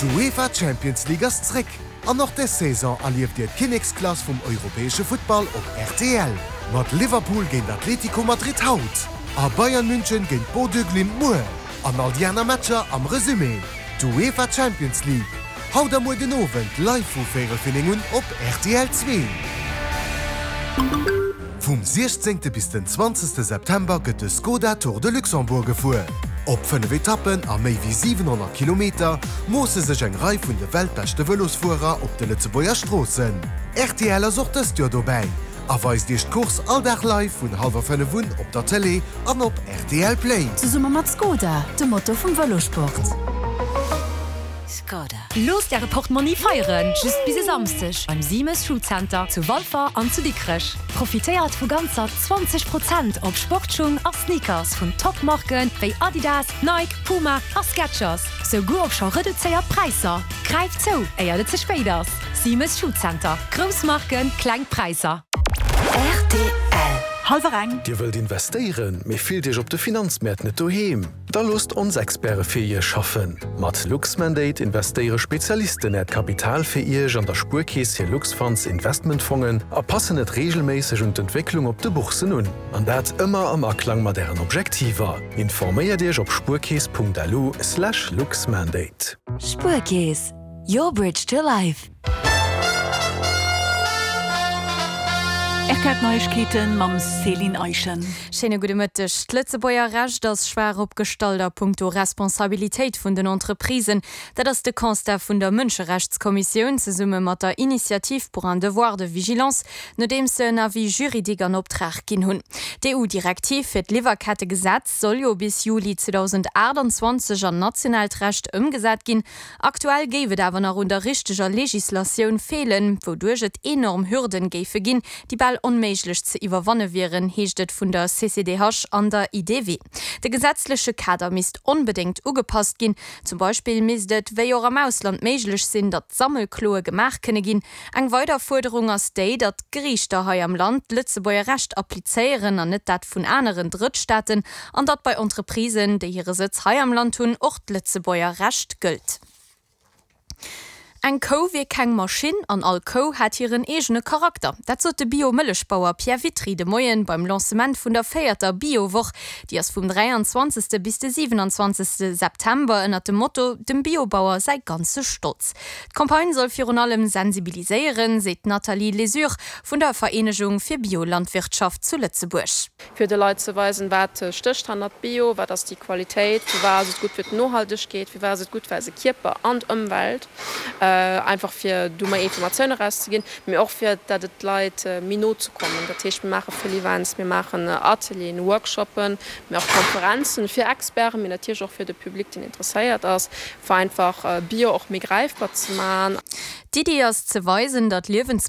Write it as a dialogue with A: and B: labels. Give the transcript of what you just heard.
A: D'UEFA Champions League ass zréck an och des Saison erlieft Dir d'Kinneksklass vum europäesche Futtball op rtl. Mat Liverpool géint Atlético Madrid haut a Bayern München géint Bodø Glimt muer an all déi aner Matcher am Resumé. D'UEFA Champions League, haut a muer den Owend live vu véierel fir 9 un op rtl 2. Vum 16. Bis den 20. September gëtt de Skoda Tour de Luxembourg gefuer. Op 5 Etappen a méi wéi 700 Kilometer moosse sech eng Rei vun de weltbeschte Vëlosfuerer op de Lëtzebuerger Stroossen. Rtl ass och dëst Joer dobäi a weist Iech d'Course all Dag live vun hallwer 5 un op der Tëlee an op rtl Play.
B: Zesumme mat Skoda, dem Motor vum Vëlosport.
C: Skoda. Loosst Äre Portmonni feieren, just bis e Samsdeg beim Simes Foodcenter zu Walfer an zu Dikrech. Profitéiert vu ganzer 20 Prozent op Sportschung a Sneakers vun Top-Marken wéi Adidas, Nike, Puma a Skechers, souguer op scho reduzéiert Präisser. Gräift zou, éiert et ze spéit ass! Simes Foodcenter, grouss Marken, kleng Präisser.
B: Rtl.
D: Hallwer eng.
E: Dir wëllt investéieren, mee fillt Iech op de Finanzmäert net doheem? Da loosst ons Experte fir Iech schaffen! Mat Luxmandate investéiere Spezialisten Äert Kapital fir Iech an der Spuerkeess hir Luxfunds Investmentfongen a passen et reegelméisseg un d'Entwécklung op de Boursen un. An dat ëmmer am Aklang mat Ären Objektiver. Informéiert Iech op spuerkeess.lu/luxmandate.
B: Spuerkeess, your bridge to life.
D: Rtl Neiegkeeten mam Céline Eischen.
F: Schéine gudde Mëtteg. D'Lëtzebuerger Recht ass schwaach opgestallt a punkto Responsabilitéit vun den Entreprisen. Dat ass de Constat vun der Mënscherechtskommissioun zesumme mat der Initiative pour un devoir de vigilance, nodeems se en Avis juridique an Optrag ginn hunn. D'EU-Direktiv fir d'Liwwerkettegesetz soll jo bis Juli 2028 an nationaalt Recht ëmgesat ginn. Aktuell géif et awer nach un der richteger Legislatioun feelen, wouduerch et enorm Hürden géife ginn, déi bal onméiglech ze iwwerwanne wieren, heescht et vun der CCDH an der IDW. De gesetzleche Kader misst onbedéngt ugepasst ginn. Zum Beispill misst et, wéi och am Ausland, méiglech sinn, datt Sammelkloe gemaach kënne ginn. Eng weider Fuerderung ass déi, datt d'Geriichter hei am Land d'Lëtzebuerger Recht applizéieren an net dat vun aneren Drëttstaaten, an datt bei Entreprisen, déi hire Sëtz hei am Land hunn, och d'Lëtzebuerger Recht gëllt. Eng Kou wier keng Maschinn an all Kou hätt hiren eegene Charakter. Dat sot de Bio-Mëllechbauer Pierre Witry de Moien beim Lancement vun der véierter Bio-Woch. Déi ass vum 23. bis de 27. September ënnert dem Motto Dem Biobauer säi ganze Stolz. D'Campagne soll virun allem sensibiliséieren, seet d'Nathalie Lesure vun der Vereenegung fir Biolandwirtschaft zu Lëtzebuerg.
G: Fir de Leit ze weisen, wat stécht hannert Bio, wat ass déi Qualitéit, firwat ass et gutt fir d'Nohaltegkeet, firwat ass et gutt fir eise Kierper an d'Ëmwelt, einfach fir do méi Informatioun erauszeginn, mee och fir dat et d'Leit méi no ze kommen. Dat heescht, mir maache vill Events, mir maachen Atelieren, Workshoppen, mee och Konferenzen fir Experten, mee natierlech och fir de Public, deen interesséiert ass. Fir einfach Bio och méi gräifbar ze man.
F: D'Iddi ass ze weisen, datt Liewensmëttel.